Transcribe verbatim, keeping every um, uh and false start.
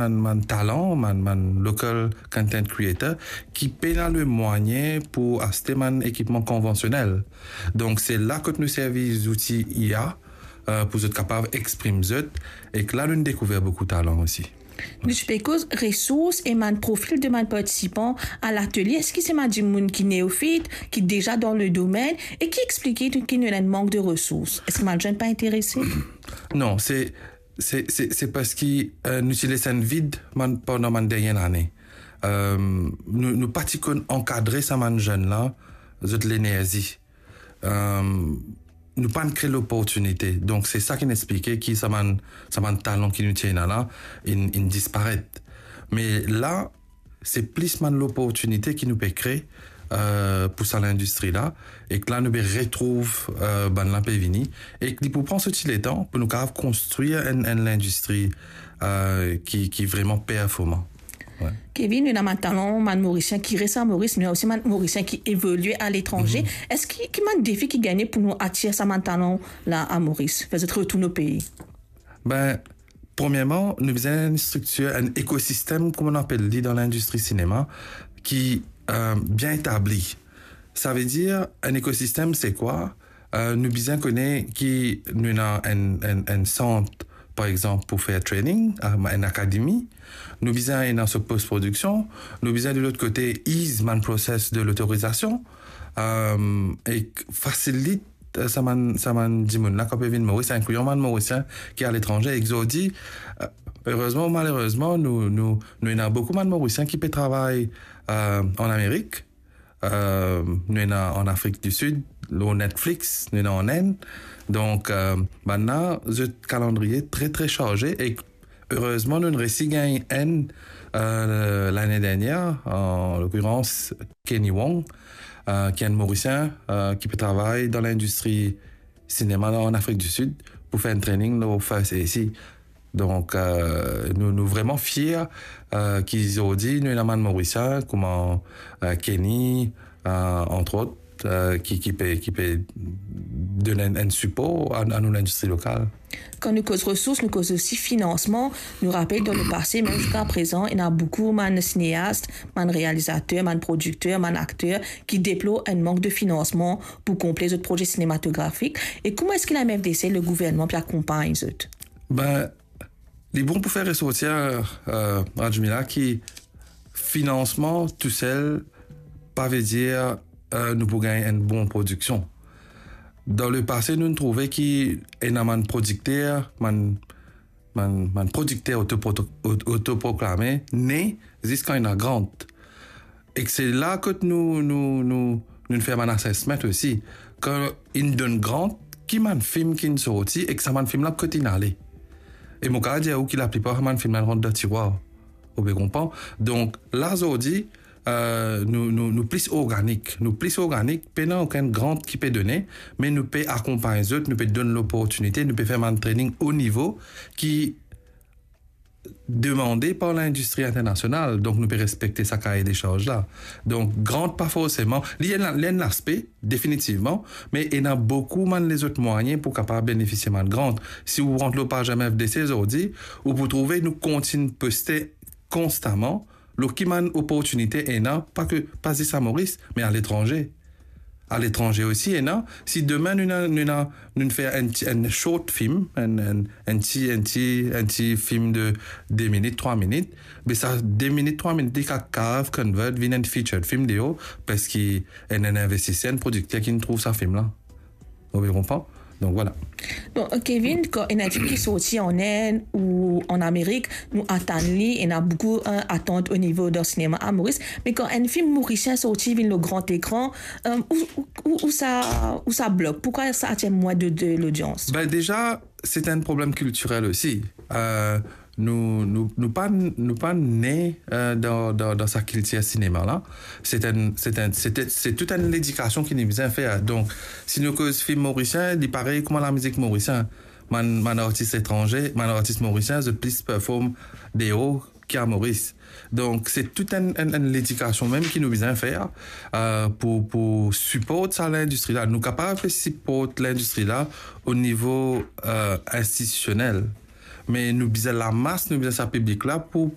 bann, bann talan, bann, bann local content creator ki pena lemwayin pou aste bann ekipman konvansionel. Donk, se la kot nou servi zouti I A, euh, pou zot kapav exprim zot, ek la nou dekouver boukou talan osi. Nou ti pe koz resours e bann profil de bann partisipan a latelie. Eski se bann dimoun ki neofit, ki deza dan le domenn, e ki explike ki nou ena enn mank de resours? Eski bann zenn pa interese? Non, se, se, se, se parski, euh, nou ti les enn vid bann, pandan bann dernie lane. Euh, nou, nou pa ti konn ankadre sa bann zenn la, zot lenerzi. Euh, nou pa'nn kre loportinite. Donk, se sa ki explike ki sa bann, sa bann talan ki nou ti ena la, inn, inn disparet. Me la, se plis bann loportinite ki nou pe kre, euh, pou sa lindistri la, ek la nou pe retrouv, euh, bann la pe vini, ek li pou pran so ti letan pou nou kapav konstrir enn, enn lindistri, euh, ki, ki vreman performan. Wi. Kevin, nou ena bann talan, bann Morisien ki res a Moris, nou ena osi bann Morisien ki evolie aletranze. Mhm. Eski, ki bann defi ki gagne pou nou atir sa bann talan la a Moris, fer zot retourn o pei? Ben, premierman, nou bizin enn striktir, enn ekosistem, kouma nou apel li dan lindistri sinema, ki, euh, bien etabli. Savedir, enn ekosistem, se kwa? Euh, nou bizin kone ki nou ena enn, enn, enn sant, par exanp, pou fer training, euh, enn akademi. Nou bizin ena so post-prodiksion. Nou bizin, de lot kote, ease bann proses de lotorizasion, euh, ek fasilit, euh, sa bann, sa bann dimoun la ki pe vinn Moris, inklian bann Morisien ki aletranze, ek zordi, euh, erezman ou malerezman, nou, nou, nou ena boukou bann Morisien ki pe travay, euh, an Amerik, euh, nou ena an Afrik di Sid, lor Netflix, nou ena an Inn. Donk, euh, bann la, zot kalandriye tre, tre sarze, ek erezman, nou resi gagn enn, euh, lane dernier, an lokirans Kenny Wong, euh, ki enn Morisien, euh, ki pe travay dan lindistri sinema an Afrik di Sid, pou fer enn training lor First A C. Donk, euh, nou, nou vreman fier, euh, ki zordi nou ena bann Morisien, kouma, euh, Kenny, euh, antrot, euh, ki, ki pe, ki pe donn enn, enn sipor a, a nou lindistri lokal. Kan nou koz resours, nou koz osi finansman. Nou rapel dan lepase, mem ziska prezan, ena boukou bann sineast, bann realizater, bann prodikter, bann akter ki deplor enn mank de finansman pou konple zot proze sinematografik. E kouma eski la M F D C, legouvernman, pe akonpagn zot? Ben, li bon pou fer resortir, euh, Radjmila, ki finansman tousel pa vedir, euh, nou pou gagn enn bon prodiksion. Dan lepase, nou trouve ki ena bann prodikter, bann, bann, bann prodikter autopro-, aut-, autoproklame, ne ziska ena grant. Ek se la kot nou, nou, nou, nou fer bann assessment osi. Kan inn donn grant, ki bann fim ki'nn sorti, ek sa bann fim la kot inn ale? E mo kapav dir ou ki laplipar bann fim la rant dan tirwar. Ou pe konpran? Donk, la zordi, euh, nou, nou, nou plis organik. Nou plis organik, pena okenn grant ki pe done, me nou pe akonpagn zot, nou pe donn loportinite, nou pe fer bann training o nivo ki demande par lindistri internasional, donk nou pe respekte sa kaye de sharz la. Donk, grant pa forseman, li enn, li enn laspe, definitivman, me ena boukou bann lezot mwayin pou kapav benefisie bann grant. Si ou rant lor paz M F D C zordi, ou pou trouve nou kontign poste konstaman lor ki bann oportinite ena, pa ke, pa zis a Moris, me aletranze. Aletranze osi ena, si demin nou ena, nou ena, nou fer enn ti, enn short film, enn, enn, enn ti, enn ti, enn ti film de de minit, trwa minit, be sa de minit, trwa minit, li kapav convert vinn enn featured film deor, parski enn, enn investiser, enn prodikter ki'nn trouv sa film la. Ou pe konpran? Donk, vwala. Bon, Kevin, kan enn film ki sorti an Inn ou an Amerik, nou atann li, ena boukou, euh, atant o nivo dan sinema a Moris, me kan enn film morisien sorti, vinn lor gran lekran, euh, ou, ou, ou, ou sa, ou sa blok? Poukwa sa atir mwin de, de lodians? Ben, deza, se enn problem kiltirel osi. Euh, nou, nou, nou pa, nou pa ne, euh, dan, dan, dan sa kiltir sinema la. Se enn, se enn, se, se tou enn ledikasion ki nou bizin fer. Donk, si nou koz film morisien, li parey kouma lamizik morisien. Bann, bann artis etranze, bann artis morisien, zot plis perform deor ki a Moris. Donk, se tou enn, enn, enn ledikasion mem ki nou bizin fer, euh, pou, pou siport sa lindistri la. Nou kapav siport lindistri la o nivo, euh, institisionel. Me nou bizin lamas, nou bizin sa piblik la pou,